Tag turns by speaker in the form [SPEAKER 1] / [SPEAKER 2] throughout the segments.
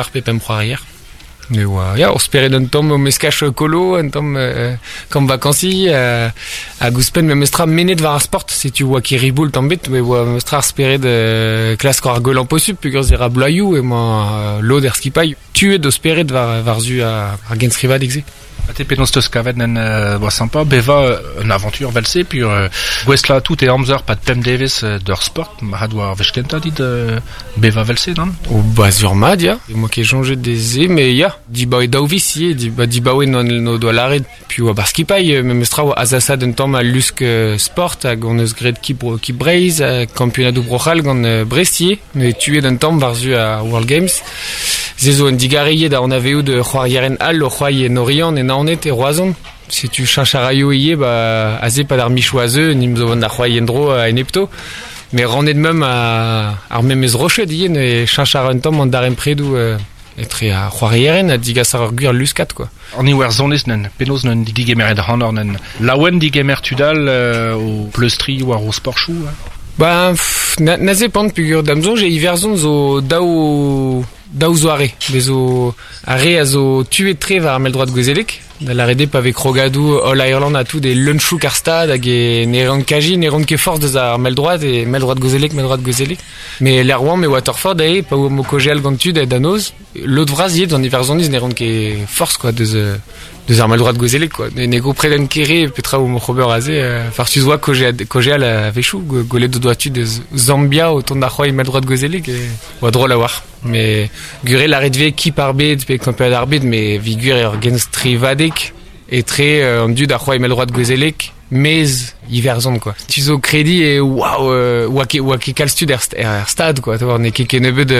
[SPEAKER 1] Ar pe pemp c'hoarier. Ne oa, ya, ur spered un tamm o meskaj kolo, un tamm euh, kamp vakansi, euh, hag ouzhpenn memestra mennet war ar sport, setu oa ket riboul tamm bet, met oa memestra ar spered euh, klask ar gwellañ posupl peogwir ze ra bloaioù emañ euh, lod er skipailh tuet o spered war, war-zu ar, ar genstrivadeg-se.
[SPEAKER 2] Ha te penaos teus kavet nen oa sympa bevañ un aventure 'vel-se puis gouestlañ tout e amzer 'pad pemp devezh d'ur sport mat oa ar wech kentañ dit bevañ 'vel-se nann?
[SPEAKER 1] Oh ba sur mat ya, emañ ket soñjet de se mais ya, dibaoe daou viz ivez, diba dibaoe n'o doa lâret piv oa bar skipailh memestra oa azasaat un tamm al lusk sport hag hon eus graet Kib Kib Breizh, kampionadoù Bro-C'hall gant Brest ivez, met tuet un tamm war-zu ar World Games. Se zo un digarez da anavezout c'hoarierien all o c'hoari en Oriant, en Naoned, e Roazhon. Setu cheñch a raio ivez ba aze 'pad ar michoù a zeu, nimp zo vont da c'hoari en-dro a-enepto. Mais rannet meump ar memes roched ivez, ne cheñch a ra un tamm an darempredoù etre ar c'hoarierien ha digas ar gwir luskad quoi.
[SPEAKER 2] An Iwerzhoniz nen, penaos nen digemeret ac'hanoc'h nen laouen digemer tud all o pleustriñ war o sporchoù hein?
[SPEAKER 1] Ba na, na zepant peogwir da'm soñj e Iwerzhon zo daou daou zoare. Bez zo ar re a zo tuet-tre war ar mell-droad gouezelek, da lâret eo pa vez krogadoù All-Ireland ha tout e leun-chouk ar stad hag e ne ran kaji ne ran ket forzh deus ar mell-droad e mell-droad gouezelek, mell-droad gouezelek. Mais lec'h oamp e Waterford eo pa oamp o kaozeal gant tud da noz, lod vras ivez d'an Iwerzhoniz ne ran ket forzh quoi deus deus ar mell-droad gouezelek quoi. Ne, ne gomprenen ket re petra oamp ober aze. Farsus oa kaozeal a-wechoù, gwelet o doa tud eus Zambia o tont da c'hoari mell-droad gouezelek e oa drol a-walc'h. Mais gwir eo lâret 'vez kip ar bed pe kampionad ar bed, mais evit gwir eo ur genstrivadeg etre an dud a c'hoari mell-droad gouezelek maez Iwerzhon quoi. Tu zo krediñ e waouh oa ket oa ket kalz tud er, er stad quoi, n'eo ket kennebeut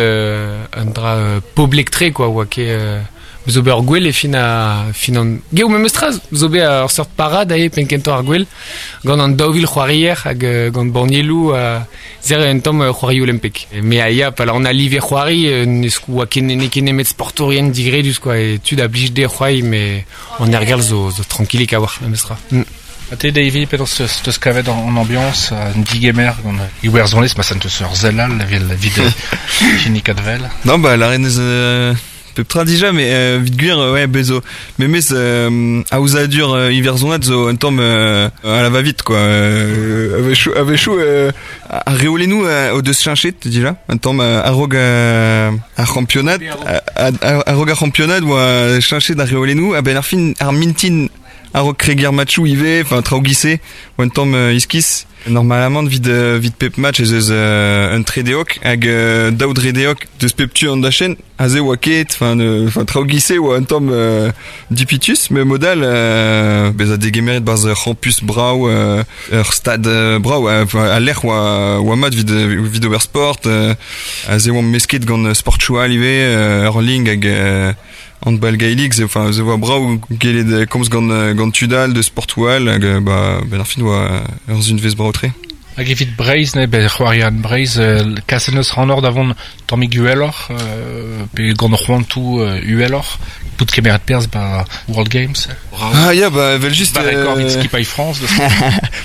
[SPEAKER 1] un dra poblek-tre quoi, oa ket zo bet ur gwel e fin a fin an geo memestra zo bet ur seurt parad aze penn-kentañ ar gwel gant an 2000 c'hoarier hag gant bannieloù ha ser un tamm c'hoari olimpek. Mais a ya pa on a live c'hoari ne oa ket n'eo ket nemet sportourien digredus quoi e tud a blij dezhe c'hoari mais an aergelc'h zo zo trankilik a-walc'h memestra. Mm.
[SPEAKER 2] Ha te Davy, penaos teus kavet an ambiañs, an digemer gant Iwerzhoniz, ma sen teus ur sell all evel evit hini Kadvel?
[SPEAKER 3] Non, bah la reine pep tra dija, mais evit gwir, ouais, bez zo memes aozadur iwerzhonat zo un tamm à la va-vite quoi. A-wechoù, a-wechoù ar reolennoù o deus cheñchet dija un tamm a-raok ar c'hampionad, a-raok ar c'hampionad oa cheñchet ar reolennoù a-benn ar fin ar mintin a-raok kregiñ ar matchoù ivez, enfin traoù giz-se, oa un tamm iskis. Normalamant evit evit pep match ez eus un tredeog hag daou dredeog deus pep tu an dachenn. Aze oa ket, enfin enfin traoù giz-se oa un tamm dipitus, met mod all bezañ degemeret 'barzh ur c'hampus brav, ur stad brav, enfin al lec'h oa oa mat evit evit ober sport. Aze oamp mesket gant sportchoù all ivez, hurling hag Handball gaelic, se enfin se oa brav gellet komz gant gant tud all deus sportoù all hag ba benn ar fin oa ur sunvezh brav-tre.
[SPEAKER 2] Hag evit Breizh, ne, bet c'hoariad Breizh, kaset neus c'hanoc'h da vont tammig uheloc'h, pe gant c'hoantoù uheloc'h, bout kemeret perzh ba World Games.
[SPEAKER 3] Ah ya, bah evel-just...
[SPEAKER 2] Ba rekord evit skipailh France.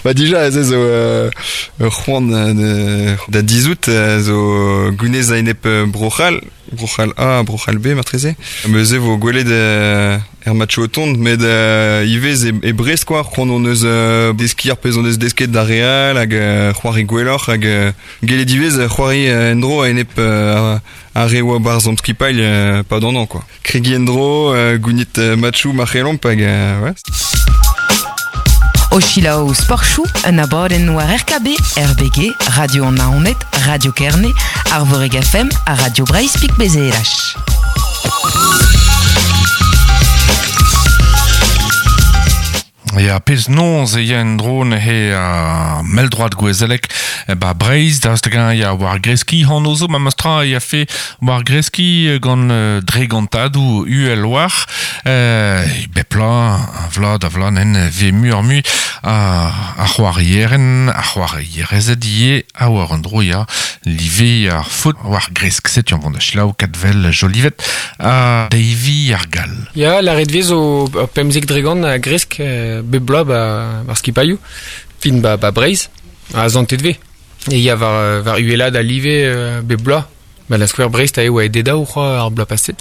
[SPEAKER 3] Bah dija, se zo ur c'hoant da dizhout, zo gounez a-enep Bro-C'hall. Bro-C'hall A, Bro-C'hall B marteze. Neuze vo gwelet er matchoù o tont, met ivez e, e Brest quoi, c'hoant hon eus deskiñ ar pezh hon eus desket d'ar re all hag c'hoari gwelloc'h hag gellet ivez c'hoari en-dro a-enep ar re oa 'barzh hon skipailh pad an hañv quoi. Kregiñ en-dro, gounit matchoù ma c'hellomp hag ouais.
[SPEAKER 4] O selaou Sportchoù, un abadenn war RKB, RBG, Radio an Naoned, Radio Kerne, Arvorig FM ha Radio Breizh Pik Bezelach.
[SPEAKER 5] Ya, pezh noz e ya en-dro neuze ar mell-droad gouezelek ba Breizh, daoust hag-eñ ya war greskiñ anv zo memes tra e yafe war greskiñ gant dregantadoù uhel war bep bloaz, a vloaz da vloaz nen vez muioc'h-mui a c'hoarieren, a c'hoarierezed ivez ha war un dro ya live ar foot war gresk. Setu an vont da selaou Kadvel Jolivet ha Davy ar Gall.
[SPEAKER 1] Ya, lâret 'vez zo ur pemzek dregont a gresk bep bloaz ba ar skipailhoù, fin ba, ba Breizh, ha santet 'vez. E ya war, war uhelaat al live bep bloaz. Ba la skouer Brest a eo oa e dedaou c'hoa ar bloaz paset.